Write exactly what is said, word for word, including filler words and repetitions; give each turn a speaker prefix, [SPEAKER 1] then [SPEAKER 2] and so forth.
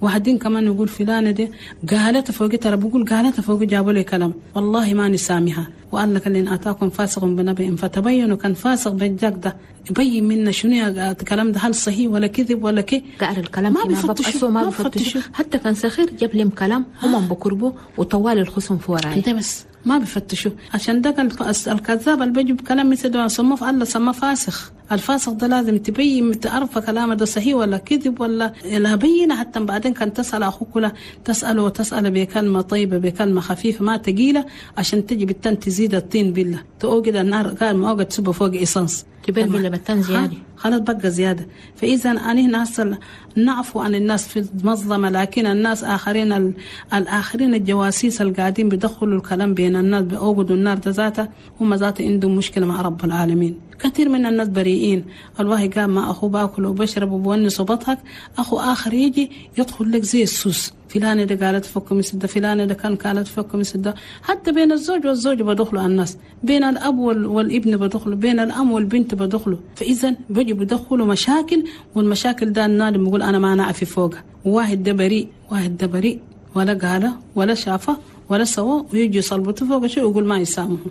[SPEAKER 1] واحدين كمان يقول فلانة دي قالت فوقي، ترى بقول قالت فوقي جابوا لي كلام والله ما نسامها. وقال لك إن أتاكم فاسق بنبأ فتبينوا، كان فاسق بالجاك ده يبين منا شنو يا الكلام ده، هل صحيح ولا كذب ولا كي.
[SPEAKER 2] قال الكلام
[SPEAKER 1] ما
[SPEAKER 2] ما
[SPEAKER 1] بيفتشوا،
[SPEAKER 2] ما
[SPEAKER 1] ما
[SPEAKER 2] بيفتشوا
[SPEAKER 1] بيفتشوا.
[SPEAKER 2] حتى كان سخير جاب لهم كلام هم بكربوا وطوال الخصم في وراي
[SPEAKER 1] انت بس ما بيفتشوا. عشان ده الكذاب اللي بيجي بكلام مثل ده سموه الله سماه فاسخ. الفاسق ده لازم تبين تعرف كلامه ده صحيح ولا كذب ولا لا بينه، حتى بعدين كان تسأل أخوك ولا تسأله وتسأله بكلمة طيبة بكلمة خفيفة ما تقيلة، عشان تجي بالتن تزيد الطين بالله تأوجد النار قال ما أوجد تسبه فوق إيسانس
[SPEAKER 2] تبين بالله بتن زيادة
[SPEAKER 1] خلاص بقى زيادة. فإذا أنا هنا هسه نعفو عن الناس في المظلمة، لكن الناس آخرين ال... الآخرين الجواسيس اللي قاعدين بيدخلوا الكلام بين الناس بأوجدوا النار ده ذاته، هم ذاته عندهم مشكلة مع رب العالمين. كثير من الناس بريئين، الواحد قام مع أخوه باكل وبشرب وبونس وبضحك، أخو آخر يجي يدخل لك زي السوس، فلانة ده قالت فك مثل ده، فلانة ده كان قالت فك مثل ده. حتى بين الزوج والزوج بدخلوا الناس، بين الأب والابن بدخلوا، بين الأم والبنت بدخلوا. فإذا بيجي بدخلوا مشاكل، والمشاكل ده النادم بيقول أنا ما نعرف فوقها، واحد ده بريء واحد ده بريء ولا قاله ولا شافه ولا سوى، ويجي يصلبته فوق شيء ويقول ما يسامحه.